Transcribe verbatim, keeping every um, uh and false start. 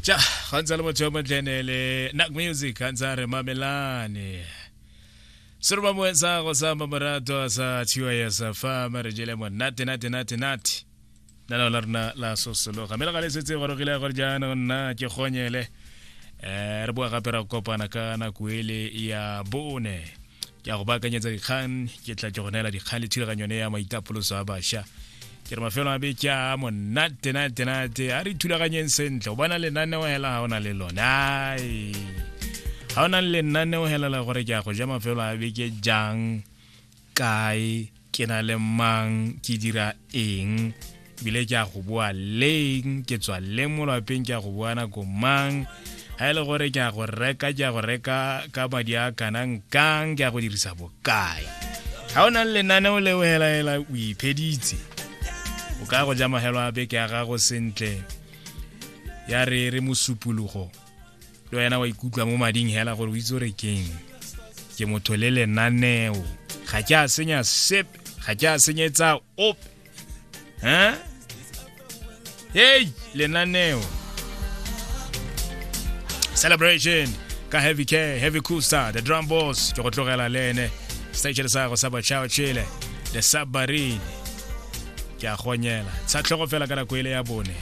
Ja, ga ntse le motho yo montle le Nak Music ga ntse a re mamelane. Seroba moe sa go sa mamorato sa T Y S fa re jele monate nate nate nate. Nna la rona la sosologa. Mme le ga le setse gorogile gore jaanong nna ke gonyele. Eh, re boa gape ra kopana ka nako ele ya bone. Ke a go baakanyetsa dikgang, ke tla ke go neela dikgang le thulaganyo ya maitapoloso a bašwa. Ke re mafelo a beke a monate nate nate, a re thulaganyeng sentle. O bona lenaneo hela ga o na le lone, ai, ga o na le lenaneo hela la gore ke a go ja mafelo a beke jang, kae, ke na le mang, ke dira eng, ebile ke a go boa leng, ke tswa leng mo lwapeng, ke a go boa nako mang, ga e le gore ke a go reka, ke a go reka ka madi a kanang kang, ke a go dirisa bokae. Ga o na le lenaneo leo hela hela, o ipheditse, o ka go ja mahelo a beke ya gago sentle. Ya re re mosupologo le wena wa ikutlwa mo mading hela gore o itse gore keng, ke motho le lenaneo, ga ke a senya sepe, ga ke a senyetsa ope. Hein, hey, lenaneo. Celebration ka Heavy K, Heavy Cooster, the Drum Boss. Ke go tlogela le ene station sa go sa Bachao Chile, The Submarine. Ke a gonyela tsha tlhogo fela ka nako ele ya bone.